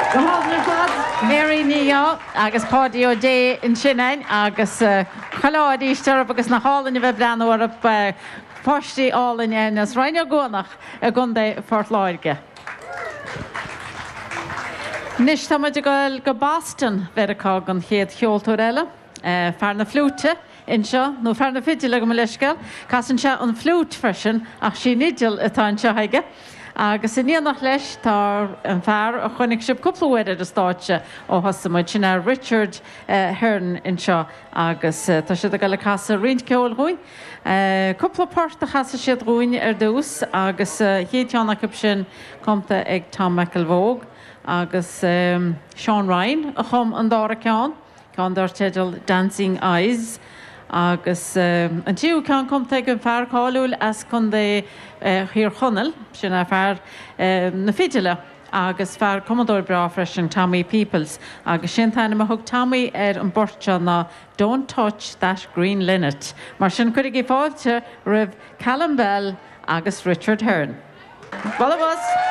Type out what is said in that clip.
Go hálainn ar fad. Mary Ní Dheá agus Páidí Ó Dé ansin againn agus chuile ádh arís orthu agus nach álainn a bheith ag breathnú orthu, páistí álainn againn as Rinn Ó gCuanach i gContae Phort Láirge. Anois tá muid ag dul go Boston, Mheiriceá don chéad cheoltóir eile, fear na fliúite. anseo, nó fear na fidile, gabh mo leithscéal. Casann sé an fhliúit freisin, ach sí an fhidil atá anseo aige. Agus in éineacht leis tá an fear a chonaic sibh cúpla uair ar an stáitse ó thosaigh muid, sin é Richard Hearne anseo agus tá siad ag dul ag casadh roinnt ceoil dhúinn. Cúpla port a chasfaidh siad dhúinn ar dtús agus an chéad cheann acu sin cumtha ag Tom McElvogue agus Seán Ryan a chum an dara ceann. ceann dar teideal Dancing Eyes agus an tríú ceann cumtha ag an fear cáiliúil as Contae Thír Chonaill, sin é fear na fidile agus fear cumadóir breá freisin, Tommy Peoples agus sé an t-ainm a thug Tommy ar an bport seo ná Don't Touch That Green Linnet. Mar sin cuirigí fáilte roimh Calum Bell agus Richard Hearne. Bualadh bos!